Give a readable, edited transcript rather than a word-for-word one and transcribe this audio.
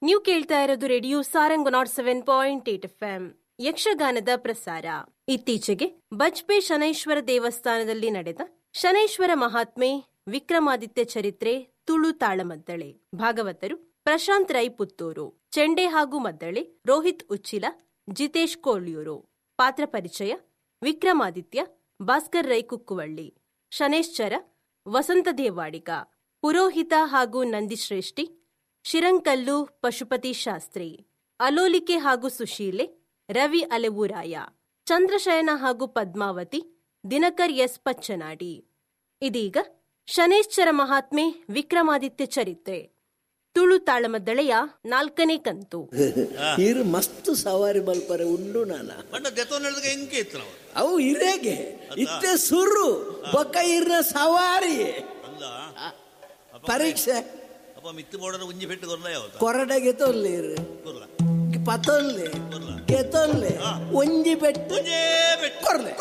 ನೀವು ಕೇಳ್ತಾ ಇರೋದು radio Sarang 107.8 F M ಯಕ್ಷಗಾನದ ಪ್ರಸಾರ. ಇತ್ತೀಚೆಗೆ ಬಜ್ಪೆ ಶನೈಶ್ವರ ದೇವಸ್ಥಾನದಲ್ಲಿ ನಡೆದ ಶನೈಶ್ವರ ಮಹಾತ್ಮೆ ವಿಕ್ರಮಾದಿತ್ಯ ಚರಿತ್ರೆ ತುಳು ತಾಳಮದ್ದಳೆ. ಭಾಗವತರು ಪ್ರಶಾಂತ್ ರೈ ಪುತ್ತೂರು, ಚೆಂಡೆ ಹಾಗೂ ಮದ್ದಳೆ ರೋಹಿತ್ ಉಚ್ಚಿಲ, ಜಿತೇಶ್ ಕೋಳ್ಯೂರು. ಪಾತ್ರ ಪರಿಚಯ ವಿಕ್ರಮಾದಿತ್ಯ ಭಾಸ್ಕರ್ ರೈ ಕುಕ್ಕುವಳ್ಳಿ, ಶನೇಶ್ಚರ ವಸಂತ ದೇವಾಡಿಗ, ಪುರೋಹಿತ ಹಾಗೂ ನಂದಿಶ್ರೇಷ್ಠಿ ಶಿರಂಕಲ್ಲು ಪಶುಪತಿ ಶಾಸ್ತ್ರಿ, ಅಲೋಲಿಕೆ ಹಾಗೂ ಸುಶೀಲೆ ರವಿ ಅಲೆವೂರಾಯ, ಚಂದ್ರಶಯನ ಹಾಗೂ ಪದ್ಮಾವತಿ ದಿನಕರ್ ಎಸ್ ಪಚ್ಚನಾಡಿ. ಇದೀಗ ಶನೇಶ್ಚರ ಮಹಾತ್ಮೆ ವಿಕ್ರಮಾದಿತ್ಯ ಚರಿತ್ರೆ ತುಳು ತಾಳಮದ್ದಳೆಯ 4ನೇ ಕಂತು. ಇರು ಮಸ್ತ್ ಸವಾರಿ ಮಲ್ಪರೆ ಉಂಡು ನಾನ ಬಣ್ಣ ದೆತ್ತೊಂದು ಎಂಕೆ ಇತ್ತು ನಾವು ಅವು ಇರೇಗೆ ಇತ್ತೆ ಸುರು ಬೊಕ್ಕ ಇರ್ನ ಸವಾರಿ ಅಲ್ಲ ಪರೀಕ್ಷೆ ಅಪ್ಪ ಮಿತ್ತು ಬೋರ್ಡರ್ ಉಂಜಿ ಪೆಟ್ಟು ಕೊರ್ಲ ಯಾವತ್ತ ಕೊರಡೆಗೆ ತೊಲ್ಲೆ ಇರು ಕೊರ್ಲ ಪತೊಲ್ಲೆ ಕೊರ್ಲ ಗೆತೊಲ್ಲೆ ಒಂಜಿ ಪೆಟ್ಟು ಒಂಜೇ ಪೆಟ್ಟು ಕೊರ್ಲೆ.